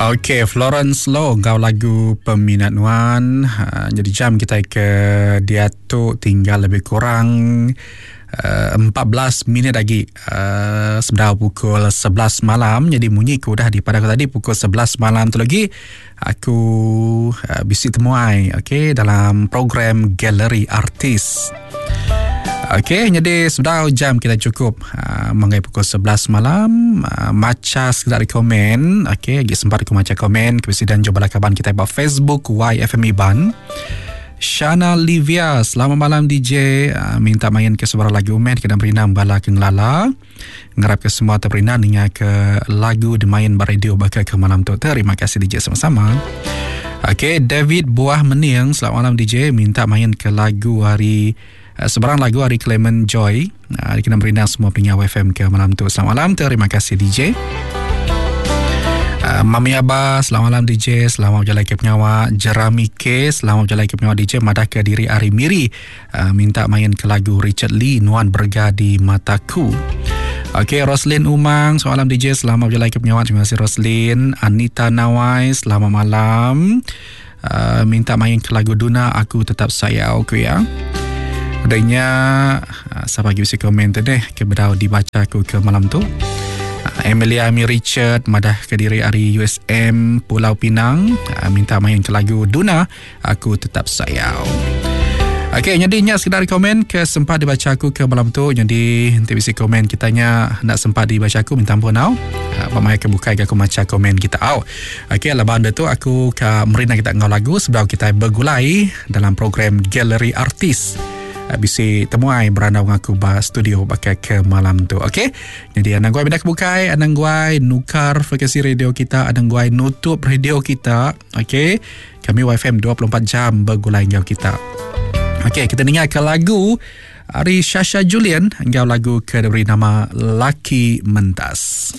Ok, Florence Low enggau lagu Peminat Nuan. Uh, jadi jam kita ke diatu tinggal lebih kurang uh, 14 minit lagi uh, sebedau pukul 11 malam. Jadi munyi ku udah dipadah aku tadi pukul 11 malam tu lagi aku uh, bisi temuai ok dalam program Galeri Artis. Okey, jadi sebedau jam kita cukup uh, manggai pukul 11 malam uh, maca sekadar komen. Okey, lagi sempat aku maca komen ke dan jumpa kawan kita ba Facebook YFM Iban. Shana Livia, selamat malam DJ. Uh, minta main ke sebarang lagu men kena berinang bala ke ngelala. Ngarap ke semua terperindang ninga ke lagu dimain ba radio baka ke malam tu. Terima kasih DJ sama-sama. Okey, David Buah Mening, selamat malam DJ. Minta main ke lagu hari eh, sebarang lagu hari Clement Joy. Uh, kena merindang semua pengingat FM ke malam tu. Selamat malam, terima kasih DJ. Uh, Mami Abah, selamat malam DJ, selamat berjalan ke pengawa. Jerami K, selamat berjalan ke pengawa DJ. Madah ke diri Ari Miri. Uh, minta main ke lagu Richard Lee Nuan Berga di Mataku. Okey, Roslin Umang, selamat malam DJ, selamat berjalan ke penyawat. Terima kasih Roslin. Anita Nawai, selamat malam. Uh, minta main ke lagu Duna, aku tetap sayau ku ya. Adanya uh, siapa lagi bisa komen tu deh ke bedau dibaca aku ke malam tu. Uh, Emilia Ami Richard madah ke diri ari USM Pulau Pinang uh, minta main ke lagu Duna aku tetap sayau. Okey, jadi nya sekedar komen ke sempat dibaca aku ke malam tu. Jadi nanti bisi komen kita nya nak sempat dibaca aku minta ampun au. Ha, pamai ke bukai ke aku maca komen kita au. Okey, laban dia tu aku ke merina kita enggau lagu sebelum kita bergulai dalam program Galeri Artis. Ha, bisi temuai berandau dengan aku ba studio pakai ke malam tu. Okey. Jadi anang guai pindah ke bukai, anang guai nukar frekuensi radio kita, anang guai nutup radio kita. Okey. Kami YFM 24 jam begulai enggau kita. Okey, kita dengar ke lagu ari Shasha Julian enggau lagu ke diberi nama Laki Mentas.